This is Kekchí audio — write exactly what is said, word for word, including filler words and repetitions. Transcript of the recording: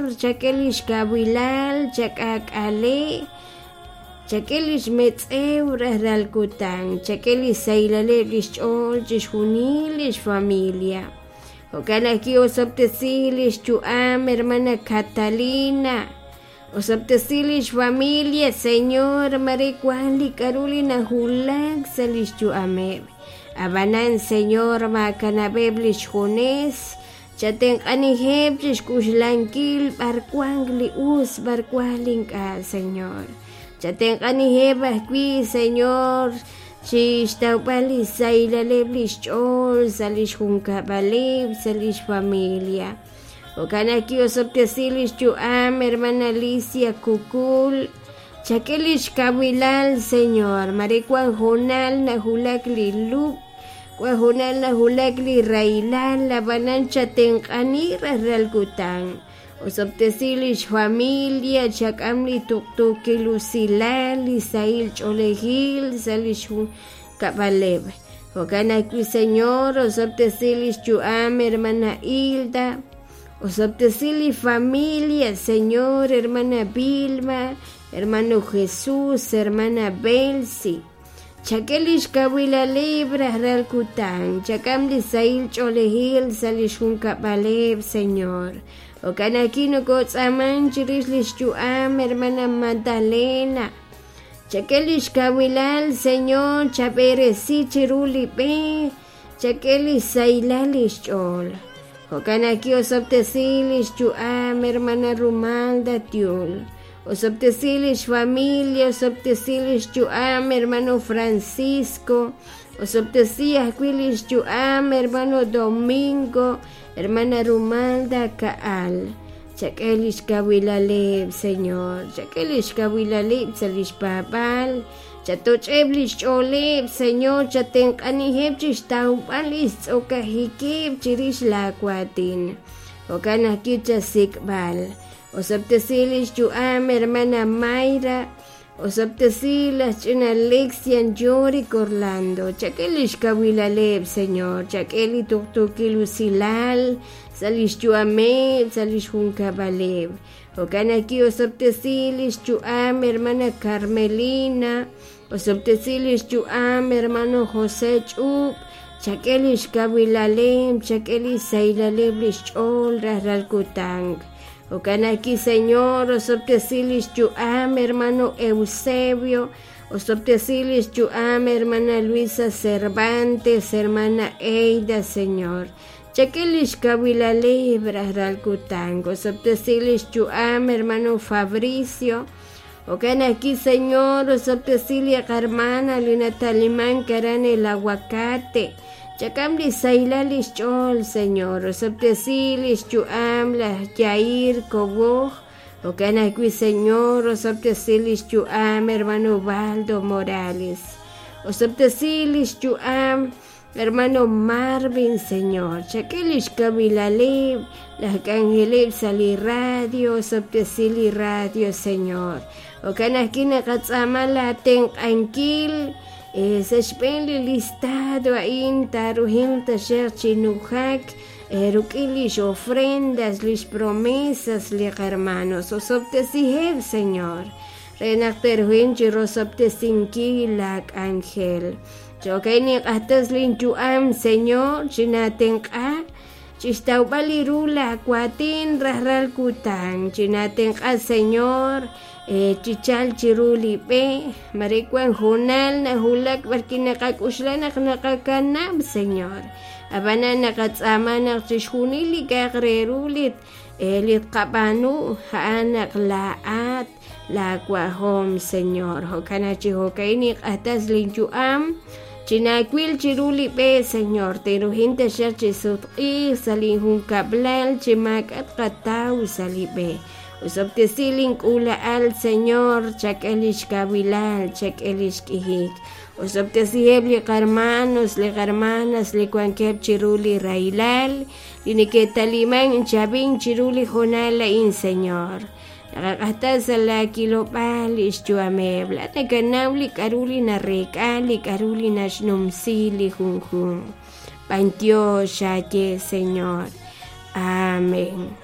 Chak'e lix kawilal, chak'aak'ale, chak'e lix metz'ew rajlal kutan, chak'e li xsahilaleb' li xch'ool chixjunil lix familia. Jo'kan ajwi' osob'tesi lix yu'am hermana Catalina, osob'tesi lix familia, Señor, mare wan li k'a'ru li najulak sa' lix yu'ameb'. Ab'anan, Señor, maakanab'eb' lix junes, chatenq'anijeb' chixk'uxlankil b'ar wank li us, b'ar wank li ink'a', Señor. Chatenq'anijeb' ajwi', Señor, chixtawb'al li xsahilaleb' li xch'ool sa' lix junkab'aleb', sa' lix familia. Jo'kan ajwi' osob'tesi lix yu'am hermana Alicia Kukul, chak'e lix kawilal, Señor, mare wan hoonal najulak li lub', wan hoonal najulak li rahilal, ab'anan chatenq'ani rajlal kutan. Osob'tesi lix familia, chak'am li tuqtuukil usilal, li sahil ch'oolejil sa' lix junkab'aleb'. Jo'kan ajwi', Señor, osob'tesi lix yu'am hermana Hilda, osob'tesi li familia, Señor, hermana Vilma, hermano Jesús, hermana Belsi. Chak'e lix kawilaleb' rajlal kutan, chak'am li sahil ch'oolejil sa' lix junkab'aleb', Señor. Jo'kan ajwi' nokotz'aaman chirix lix yu'am hermana Magdalena. Chak'e lix kawilal, Señor, chab'eresi chiru li b'e, chak'e li sahilal lix ch'ool. Jo'kan ajwi' osob'tesi lix yu'am hermana Rumalda Tiul. Osob'tesi lix familia, osob'tesi lix yu'am hermano Francisco, osob'tesi ajwi' lix yu'am hermano Domingo, hermana Rumalda Kaal. Chak'e lix kawilaleb', Señor, chak'e lix kawilaleb' sa' lix paab'aal, chatoch'eb' lix ch'ooleb', Señor, chatenq'anijeb' chixtawb'al lix tz'okajikeb' chirix laawatin. Jo'kan ajwi' chasik'b'al. Osob'tesi lix yu'am hermana Mayra, osob'tesi laj ch'ina Alexian Yorick Orlando, chak'e lix kawilaleb', Señor, chak'e li tuqtuukil usilal sa' lix yu'ameb', sa' lix junkab'aleb'. Jo'kan ajwi' osob'tesi lix yu'am hermana Carmelina, osob'tesi lix yu'am hermano José Ch'ub', chak'e lix kawilaleb', chak'e li sahilaleb' lix ch'ool rajlal kutan. Jo'kan ajwi', Señor, osob'tesi lix yu'am hermano Eusebio, osob'tesi lix yu'am hermana Luisa Cervantes, hermana Eida, Señor. Chak'e lix kawilaleb' rajlal kutan, osob'tesi lix yu'am hermano Fabricio. Jo'kan ajwi', Señor, osob'tesi li qarmana li nataliman aran el aguacate. Chak'am li sahilal lix ch'ool, Señor, osob'tesi lix yu'am laj Yair Koboj. Jo'kan ajwi', Señor, osob'tesi lix yu'am hermano Baldo Morales. Osob'tesi lix yu'am hermano Marvin, Señor. Chak'e lix kawilaleb', laj k'anjeleb' sa' li radio, osob'tesi li radio, Señor. Jo'kan ajwi' naqatz'aama laatenq'ankil sa' xb'een li listado a'in taaruhinq taxaq chi nujak ruk'in lix ofrendas, lix promesas li qarmanos. Osob'tesiheb', Señor, re naq te'ruhinq chi rosob'tesinkil laak'anjel. Jo'kan ninq'ajtas linyu'am, Señor, chinatenq'a chixtawb'al li ru laawatin rajlal kutan. Chinatenq'a, Señor, chichal chiru li b'e, mare wan hoonal najulak b'arwi' naqak'uxla naq naqakanab', Señor. Ab'anan naqatz'aama naq chixjunil li k'a'aq re ru li li tqab'aanu a'an naq laa'at laawajom, Señor. Jo'kan chi jo'ka'in ninq'ajtas linyu'am, chinaawil chiru li b'e, Señor, te'ruhin taxaq chi sutq'iij sa' linjunkab'lal chi maak'a' tqataw sa' li b'e. Osob'tesi link'uula'al, Señor, chak'e lix kawilal, chak'e lix k'ijik. Osob'tesiheb' li qarmanos, li qarmanas li wankeb' chiru li rahilal, li neke'taliman chab'in chiru li hoonal a'in, Señor. Naqaq'ajtas sa' laakilob'aal lix yu'ameb', laa'at nakanaw li k'a'ru li nareek'a, li k'a'ru li naxnumsi li junjunq. B'antiox xaye, Señor. Amén.